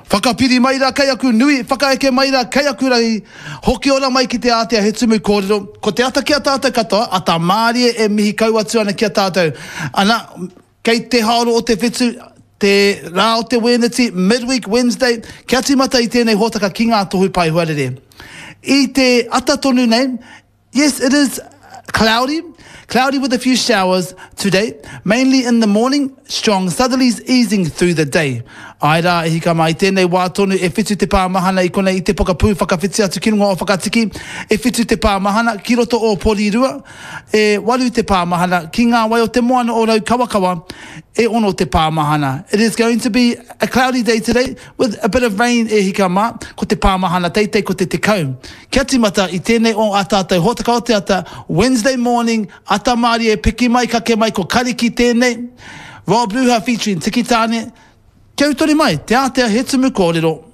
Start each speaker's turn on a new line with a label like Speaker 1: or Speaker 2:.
Speaker 1: Whakapiri mai rā kei aku nui, whakaeke mai rā kei aku rangi, hoki ora mai ki te ātea he tumu kōrero, ko te ata ki a tātou katoa, ata mārie e mihi kau atu ana ki a tātou. Ana, kei te haoro o te whetu, te rā o te Wēneti, midweek Wednesday, kia tīmata i tēnei hōtaka ki ngā tohu pae huarere. I te ata tonu nei, Yes, it is cloudy, cloudy with a few showers today, mainly in the morning, strong southerlies easing through the day. Āe rā, e hika mā, i tēnei wā tonu e whitu te pā mahana i konei i te pokapū whakawhiti atu ki runga o Whakatiki, e whitu te pā mahana ki roto o Porirua, e waru te pā mahana ki ngā wai o te moana o Raukawakawa, e ono te pā mahana. It is going to be a cloudy day today with a bit of rain e hika mā, ko te pā mahana teitei ko te 10. Kia tīmata i tēnei o ā tātou hōtaka o te ata, Wednesday morning, ata mārie, piki mai, kake mai, ko Kariki tēnei, Rob Ruha featuring Tiki Taane, kia utori mai, te ātea he tumu kōrero.